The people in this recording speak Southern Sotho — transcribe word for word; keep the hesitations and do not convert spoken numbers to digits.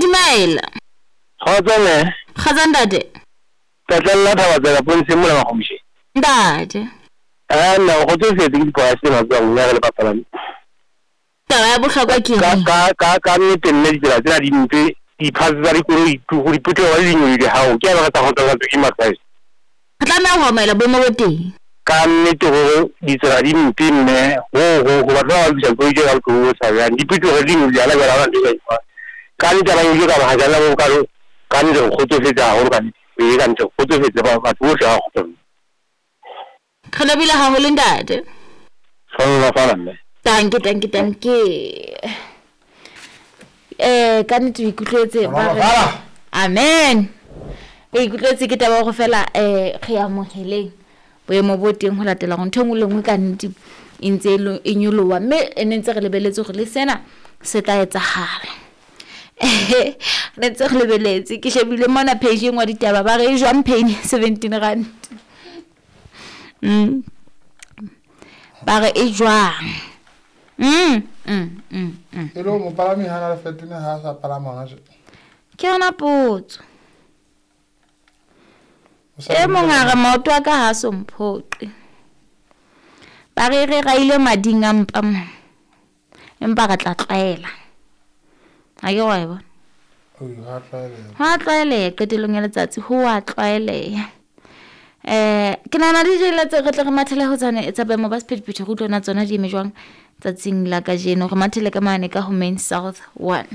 Dumela. Kgotso mme. Kgotso ntate. Tlatlella thaba tsela pontsheng mona Makgomosheng. Ntate. Ah nna o kgotsofetse ke diprice tse matswang ya re le bapalami. Taba ya bohlokwa ke Ka eng? ka ka ka nnete mme ditsela tsena di mpe, di-parts tsa dikoloi go di phuthego le dinyolohile hao. Ke a ba re tsa kgotsofatswe ke ma-price. Re tlameha ho amohela boemo bo teng. Ka nnete hore ditsela di mpe mme ho ho ho batho ba ba lokisa dikoloi tse ka bohloko bo tshabehang. Diphetogo di nyolohile hana jwale ha hona ntho e ka etsuwang. Ka nnete ha ba nyolohile ka bohajana bo bokalo, ka nnete re kgotsofetse haholo ka nnete. Ee ka nnete re kgotsofetse ba batho bohle ba kgotsofetse. Re lebohile haholo ntate. Hlohonolofala mme. Tanke tanke tanke. Eh ka nnete o ikutlwetse ba re Hlohonolofala. Amen. O ikutlwetse ke taba ya hore fela eh re amoheleng boemo bo teng ho latela hore ntho e nngwe le nngwe ka nnete e ntse e lo- e nyoloha mme e ne ntse re lebeletse hore le sena se tla etsahala. Ne ntse re lebeletse ke shebile mona page e nngwe ya ditaba ba re e jwang pain seventeen rand. Mm. Ba re e jwang? Mm, mm, mm, mm. E le hore mopalami ha na le fetone ha a sa palama hona tje. Ke yona potso. O sa E mong a dumela. re maoto a ka ha so mphoqe. Ba re re raile mading a mpa mo. Empa re tla tlwaela. Ha ke wa e bona. Oi, ha tlwaeleha. Ha tlwaeleha qetellong ya letsatsi ho a tlwaeleha. Eh ke nahana di jela tse re tle re mathele ho tsane tsa boemo ba sephethephethe re utlwe na tsona di eme jwang tsatsing la kajeno. Re mathele ka mane ka ho Main South one.